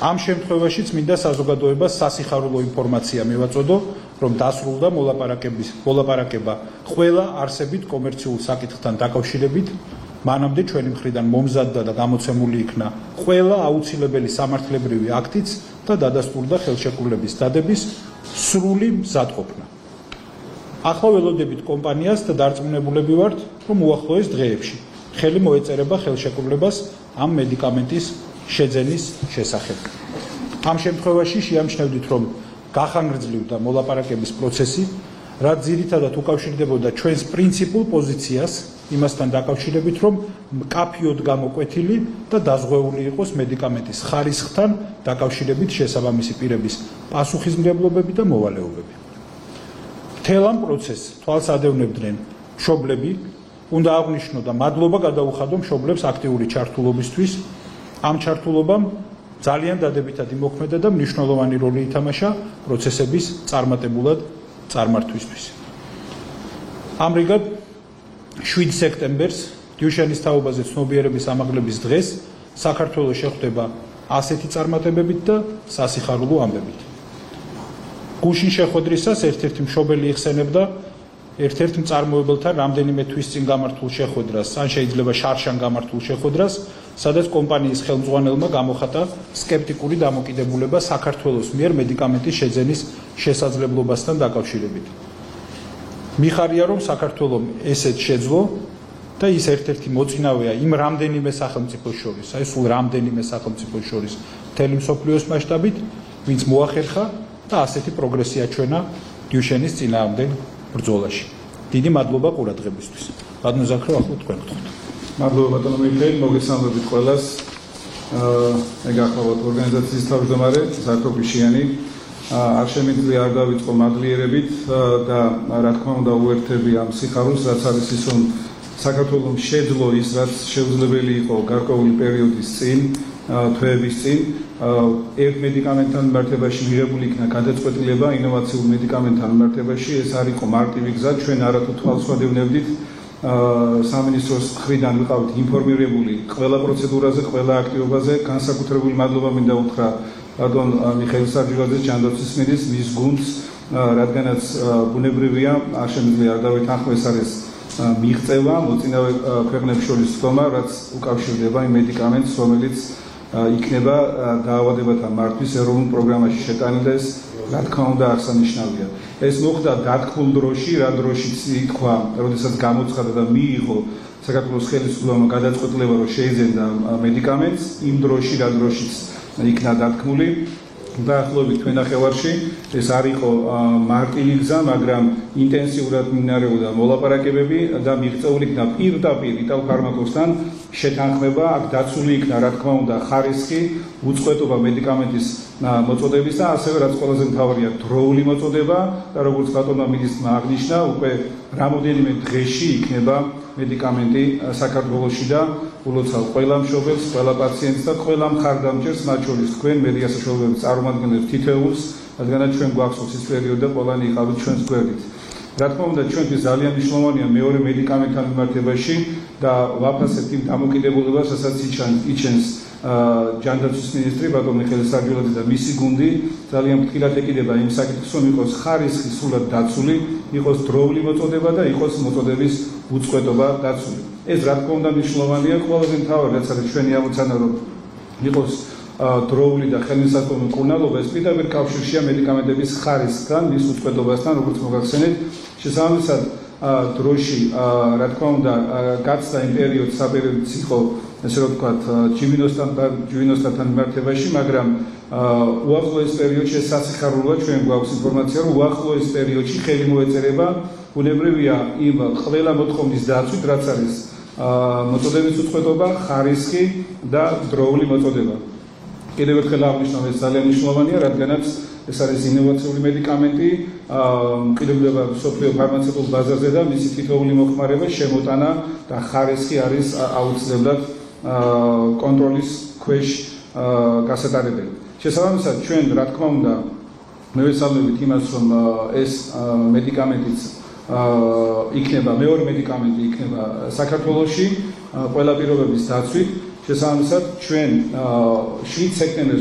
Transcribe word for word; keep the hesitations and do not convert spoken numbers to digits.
ამ შემთხვევაშიც მინდა საზოგადოებას სასიხარულო ინფორმაცია მივაწოდო, რომ დასრულდა მოლაპარაკების მოლაპარაკება ყველა არსებით კომერციულ საკითხთან დაკავშირებით, მანამდე ჩვენი მხრიდან მომზადდა და გამოცემული იქნა ყველა აუცილებელი სამართლებრივი აქტიც და დადასტურდა ხელშეკრულების დადების სრული მზადყოფნა. ახლა ველოდებით კომპანიას და დარწმუნებულები ვართ, რომ უახლოეს დღეებში ხელი მოეწერება ხელშეკრულებას ამ მედიკამენტის შეძენის შესახებ. ამ შემთხვევაში შეამჩნევდით, რომ გახანგრძლივდა მოლაპარაკების პროცესი, რაც ძირითადად უკავშირდებოდა ჩვენს პრინციპულ პოზიციას იმასთან დაკავშირებით, რომ მკაფიოდ გამოკვეთილი და დაზღვეული იყოს მედიკამენტის ხარისხთან დაკავშირებით შესაბამისი პირების პასუხისმგებლობები და მოვალეობები. მთელ ამ პროცესს თვალს ადევნებდნენ მშობლები, უნდა აღვნიშნო და მადლობა გადაუხადო მშობლებს აქტიური ჩართულობისთვის. ამ ჩართულობამ ძალიან დადებითად იმოქმედა და მნიშვნელოვანი როლი ითამაშა პროცესების წარმატებულად წარმართვისთვის. ამრიგად, შვიდ სექტემბერს დიუშენის თაობაზე ცნობიერების ამაღლების დღეს საქართველოს შეხვდება ასეთი წარმატებებით და სასიხარულო ამბებით. გუშინ შეხვედრისას ერთ-ერთი მშობელი იხსენებდა ერთ-ერთ მწარმოებელთან რამდენიმე თვის წინ გამართულ შეხვედრას, ან შეიძლება შარშან გამართულ შეხვედრას, სადაც კომპანიის ხელმძღვანელმა გამოხატა სკეპტიკური დამოკიდებულება საქართველოს მიერ მედიკამენტის შეძენის შესაძლებლობასთან დაკავშირებით. მიხარია, რომ საქართველომ ესეც შეძლო და ის ერთ-ერთი მოწინავეა იმ რამდენიმე სახელმწიფოს შორის, აი სულ რამდენიმე სახელმწიფოს შორის მთელი მსოფლიოს მასშტაბით, ვინც მოახერხა და ასეთი პროგრესია ჩვენა დიუშენის წინააღმდეგ ბრძოლაში. დიდი მადლობა ყურადღებისთვის. ბატონო ზაქრო, ახლა თქვენ გთხოვთ. მადლობა ბატონო მიხეილ, მოგესალმებით ყველას. მე გახლავთ ორგანიზაციის თავმჯდომარე ზაქრო გიშიანი. არ შემიძლია არ დავიწყო მადლიერებით და რა თქმა უნდა უერთები ამ სიხარულს, რაც არის ის, რომ საქართველოს შეძლო ის, რაც შეუძლებელი იყო გარკვეული პერიოდის წინ, თვეების წინ, ერთ მედიკამენტთან მიმართებაში მიღებული იქნა გადაწყვეტილება ინოვაციურ მედიკამენტთან მიმართებაში. ეს არ იყო მარტივი გზა, ჩვენ არათუ თვალს ვადევნებდით. სამინისტროს მხრიდან ვიყავით ინფორმირებული ყველა პროცედურაზე, ყველა აქტივობაზე. განსაკუთრებული მადლობა მინდა უთხრა ბატონ მიხეილ სარჯილაძეს, ჯანდაცვის მინისტრს, მის გუნდს, რადგანაც ბუნებრივია, არ შემიძლია არ დავეთანხმო, ეს არის მიღწევა მოწინავე ქვეყნებს შორის თქმა, რაც უკავშირდება იმ მედიკამენტს, რომელიც იქნება დაავადებათა მართვის ეროვნულ პროგრამაში შეტანილი და ეს რა თქმა უნდა აღსანიშნავია. ეს მოხდა დათქმულ დროში, რა დროშიც ითქვა, როდესაც გამოცხადა და მიიღო საქართველოს ხელისუფლებამ გადაწყვეტილება, რომ შეიძენდა მედიკამენტს, იმ დროში, რა დროშიც იქნა დათქმული. დაახლოებით თქვენ ნახევარში ეს არ იყო მარტივი გზა, მაგრამ ინტენსიურად მიმდინარეობდა მოლაპარაკებები და მიღწეული იქნა პირდაპირ იტალფარმაკოსთან შეთანხმება, აქ დაცული იქნა რა თქმა უნდა ხარისხი, უწყვეტობა მედიკამენტის მოწოდების და ასევე რაც ყველაზე მთავარია დროული მოწოდება და როგორც ბატონმა მინისტრმა აღნიშნა, უკვე რამოდენიმე დღეში იქნება მედიკამენტი საქართველოში და ულოცავ ყველა მშობელს, ყველა პაციენტს და ყველა მხარდამჭერს, მათ შორის თქვენ მედია საშუალებების წარმომადგენლებს თითოეულს, რადგანაც ჩვენ გვახსოვს ის პერიოდი და ყველანი იყავით ჩვენს გვერდით. რა თქმა უნდა, ჩვენთვის ძალიან მნიშვნელოვანია მეორე მედიკამენტთან მიმართებაში და ვაფასებთ იმ დამოკიდებულებას, რასაც იჩენს ჯანდაცვის მინისტრი ბატონ მიხეილ სარჯილაძე და მისი გუნდი. ძალიან ფრთხილად ეკიდება იმ საკითხს, რომ იყოს ხარისხი სრულად დაცული, იყოს დროული მოწოდება და იყოს მოწოდების უწყვეტობა დაცული. ეს რა თქმა უნდა მნიშვნელოვანია, ყველაზე მთავარი რაც არის ჩვენი ამოცანა, რომ იყოს დროული და ხელმისაწვდომი მკურნალობა, ეს პირდაპირ კავშირშია მედიკამენტების ხარისხთან, მის უწყვეტობასთან, როგორც მოგახსენეთ. შესაბამისად, დროში რა თქმა უნდა გაცდა იმ პერიოდს, საპერიოდიც იყო ესე რომ ვთქვათ, ჯვინოსთან მიმართებაში, მაგრამ უახლოეს პერიოდში ეს სასიხარულოა, ჩვენ გვაქვს ინფორმაცია, რომ უახლოეს პერიოდში ხელი მოეწერება ბუნებრივია იმ ყველა მოთხოვნის დაცვით, რაც არის მოწოდების უწყვეტობა, ხარისხი და დროული მოწოდება. კიდევ ერთხელ აღნიშნავ, ეს ძალიან მნიშვნელოვანია, რადგანაც ეს არის ინოვაციური მედიკამენტი, მყიდველობა მსოფლიო ფარმაცევტულ ბაზარზე და მისი თითოეული მოხმარება, შემოტანა და ხარისხი არის აუცილებლად კონტროლის ქვეშ გასატარებელი. შესაბამისად, ჩვენ რა თქმა უნდა მევესალმებით იმას, რომ ეს მედიკამენტიც იქნება, მეორე მედიკამენტი იქნება საქართველოში ყველა პირობების დაცვით. შესაბამისად, ჩვენ შვიდ სექტემბერს